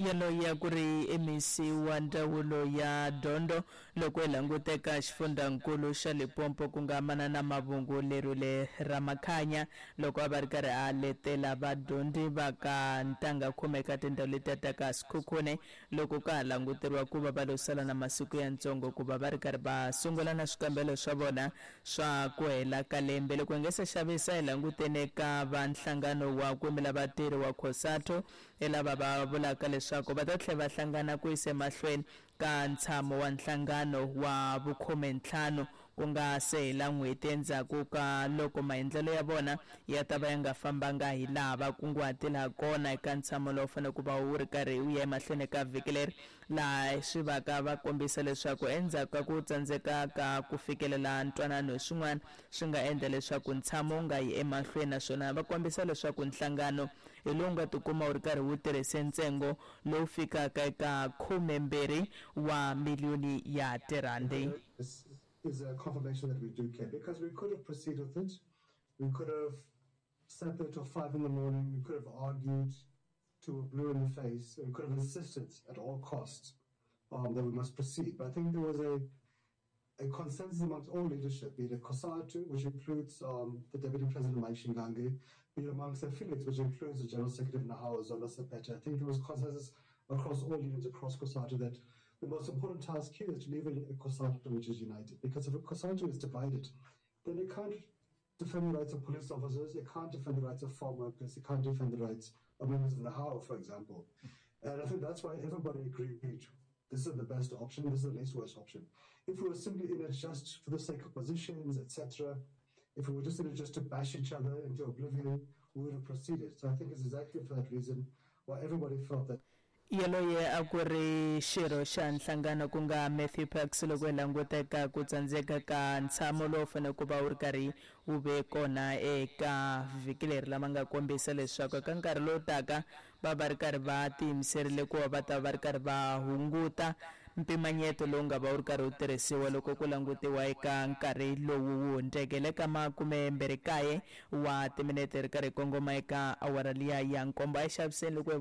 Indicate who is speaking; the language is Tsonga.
Speaker 1: Yaloye a ku ri MEC wa ndzawulo ya dyondzo loko hi languteka xifundzankulu xa Limpopo ku nga Manana Mavhungu Lerule Ramakhanya loko a va ri karhi a letela vadyondzi va ka ntangha khume eka tindhawu letiya ta ka Sekhukhune loko ka ha languteriwa ku va va lo sala na masiku yantsongo ku va va ri karhi va sungula na swikambelo swa vona swa ku hela ka lembe. Loko hi nga se xavisa hi langutene ka va nhlangano wa ku yimela vatirhi wa COSATU i lava va vulaka leswaku va ta tlhela va hlangana ku yisa emahlweni ka ntshamo wa nhlangano wa vukhume-ntlhanu ku nga se hela n'hweti endzhaku ka loko maendlelo ya vona ya ta va ya nga fambanga hi laha va kunguhatile ha kona eka ntshamo lowu fanele ku va wu ri karhi wu ya emahlweni eka vhiki leri laha swi vaka va kombisa leswaku endzhaku ka ku tsandzeka ka ku fikelela ntwanano hi swin'wana swi nga endla leswaku ntshamo wu nga yi emahlweni naswona va kombisa leswaku nhlangano hi lowu nga tikuma wu ri karhi wu tirhise ntsengo lowu fikaka eka 12 wa miliyoni ya tirhandi.
Speaker 2: This is a confirmation that we do care because we could have proceeded with it. We could have sat there till 5 in the morning. We could have argued till we're blue in the face. We could have insisted at all costs that we must proceed. But I think there was a consensus amongst all leadership, be it COSATU, which includes the Deputy President Mike Shingange, be it amongst the affiliates, which includes the General Secretary of NEHAWU, Zola Sepete. I think there was consensus across all unions across COSATU that the most important task here is to leave a COSATU which is united. Because if a COSATU is divided, then it can't defend the rights of police officers, it can't defend the rights of farm workers, it can't defend the rights of members of NEHAWU, for example. And I think that's why everybody agreed this is the best option, this is the least worst option. If we were simply in it just for the sake of positions, etc., if we were just in it just to bash each other into oblivion, we would have proceeded. So I think it's exactly for that reason why everybody felt that.
Speaker 1: Yaloye a ku ri xirho xa nhlangano ku nga Matthew Parks loko hi languta eka ku tsandzeka ka ntshamo lowu fanele ku va wu ri karhi wu ve kona eka vhiki leri lama nga kombisa leswaku eka nkarhi lowu taka va va ri karhi va tiyimiserile ku va va ta va ri karhi va hunguta mpimanyeto lowu nga va wu ri karhi wu tirhisiwa loko ku langutiwa eka nkarhi lowu wu hundzeke le ka makumembirhi kaye wa timinete ri karhi kongoma eka awara liya ya nkombo. A hi xaviseni loko hi.